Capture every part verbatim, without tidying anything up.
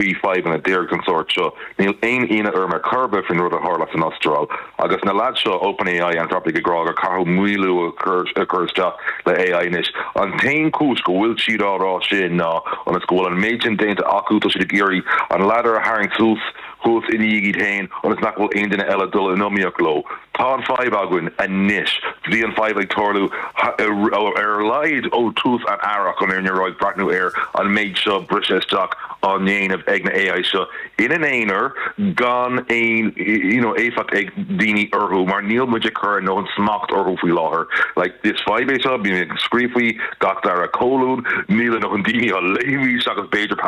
Bhí fadhbanna díreach den sórt seo. Níl aon ionadh orm ar chor ar bith faoin rud a tharla san Astráil. Agus na lads seo OpenAI Anthropic ag rá gur caithfidh maolú a chur a chur isteach le AI anois. An t-aon chúis go bhfuil siad á rá sin ná ionas go bhfuil an méid sin déanta acu tá siad ag iarraidh an ladder a tharraingt suas thuas ina dhiaidh iad féin ionas nach bhfuil aon duine eile dul in iomaíocht leo. Tá an fadhb againn anois. Bhí an fadhb ag tarlú ar a laghad ó tús an earraigh chun ar ag breathnú ar an méid seo briseadh isteach á ndéanamh ag na AI seo ina n-aonar gan aon you know, éifeacht ag daoine orthu mar níl muid ag cur nó an smacht orthu faoi láthair. Like is fadhb é seo bím ag scríobh faoi gach dara colún níl nó an daoine á léamh seachas b'fhéidir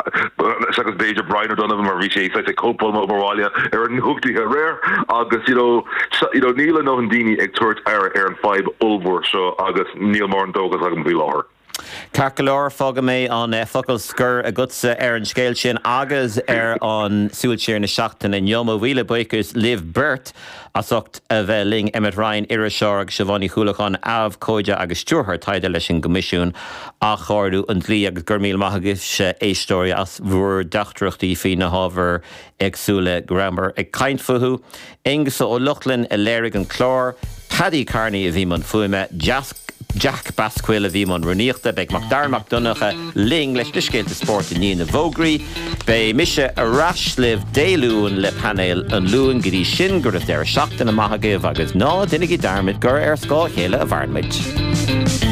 seachas b'fhéidir Brian O'Donovan mar bhí sé ag cóipeáil m'obair ar an nuacht aréir agus you know, so, you know, níl nó an daoine ag tabhairt aire ar an fadhb ollmhór seo agus níl mórán dóchas agam faoi láthair. Ceart go leor fágfaidh mé an eh, focal scoir agatsa ar an scéal sin agus ar an Súil Siar na seachtaine inniu míle buíochas libh beirt as ucht a bheith linn Emmet Ryan iriseoir agus Siobhán Ní Chualáin abhcóide agus stiúrthóir taighde leis an gCoimisiún Athchóiriú an Dlí agus gur míle maith agaibh éisteoirí as bhur dteachtaireachtaí faoi na hábhair éagsúla go rabhamar ag caint fúthu. Aengus Ó Lochlainn a léirigh an clár, Paddy Carney a bhí i mbun fuaime, Jack Basquill a bhí i mbun rúnaíochta, beidh Macdara Mac Donncha linn leis na scéalta spóirt i ndiaidh na bhfógraí, Beidh mise ar ais libh Dé Luain le painéal an Luain go dtí sin go raibh deireadh seachtaine maith agaibh agus ná déanaigí dearmad gur ar scáth a chéile a mhaireann muid.